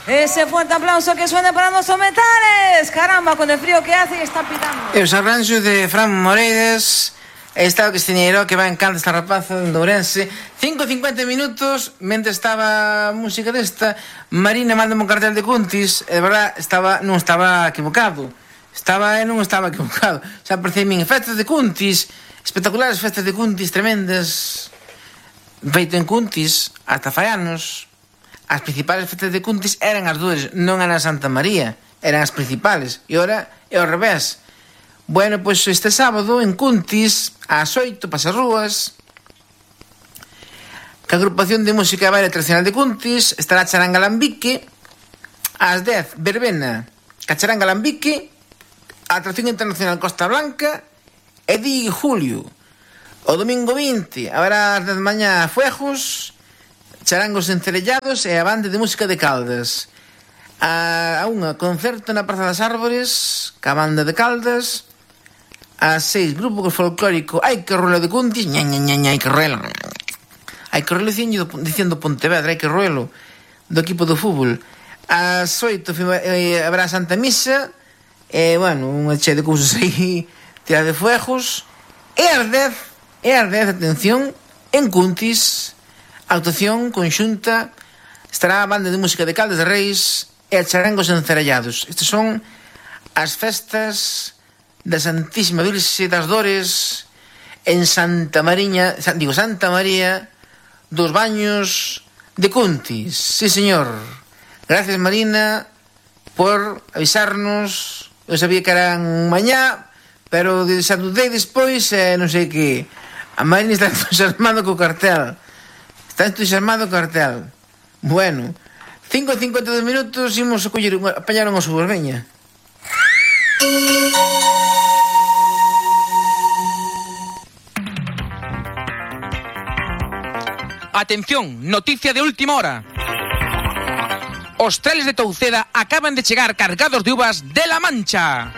Ese fuerte aplauso que suene para los metales. Caramba, con el frío que hace y está pitando. E os arranxos de Fran Moreiras. Está o Cristiñeiro que vai en canto esta rapaza de Ourense. 5:50 minutos. Mentre estaba a música desta, Marina mándame un cartel de Cuntis. E de verdad non estaba equivocado. Non estaba equivocado. Xa percebín festas de Cuntis, espectaculares festas de Cuntis tremendas, feito en Cuntis hasta fai anos. As principales festas de Cuntis eran as dúas, non eran Santa María, eran as principales. E ora é ao revés. Bueno, pois este sábado en Cuntis, ás 8, Pasarrúas, que a agrupación de música baile tradicional de Cuntis estará Charanga Lambique, ás 10, verbena, Cacharanga Lambique, atracción internacional Costa Blanca, e di Julio. O domingo 20, haberá ás 10 de mañá Fuejos, charangos encerellados e a banda de música de Caldas. A unha, concerto na Praza das Árbores, ca banda de Caldas. Ás 6, grupo folclórico Hai que Ruelo de Cuntis, hai que ruelo. Hai que ruelo diciendo Pontevedra, hai que ruelo, do equipo do fútbol. Ás 8 habrá Santa Misa, e, bueno, unha che de cousas aí, tira de fuegos. E ás 10, atención, en Cuntis, actuación conxunta, estará a banda de música de Caldas de Reis e a charangos encerellados. Estas son as festas da Santísima Virxe das Dores en Santa María dos Baños de Cuntis. Sí, señor. Gracias, Marina, por avisarnos. Eu sabía que eran mañá, pero xa dudei despois, non sei que. A Marina está entusiasmado co cartel. Bueno, 5:52 minutos, imos a apañar unhas uvas, veña. Atención, noticia de última hora. Os treles de Touceda acaban de chegar cargados de uvas de La Mancha.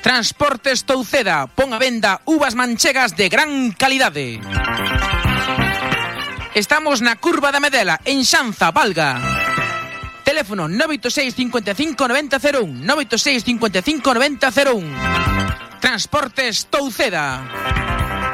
Transportes Touceda pon a venda uvas manchegas de gran calidade. Estamos na Curva da Medela, en Xanza, Valga. Teléfono 986 55 90 01, 986 55 90 01. Transportes Touceda.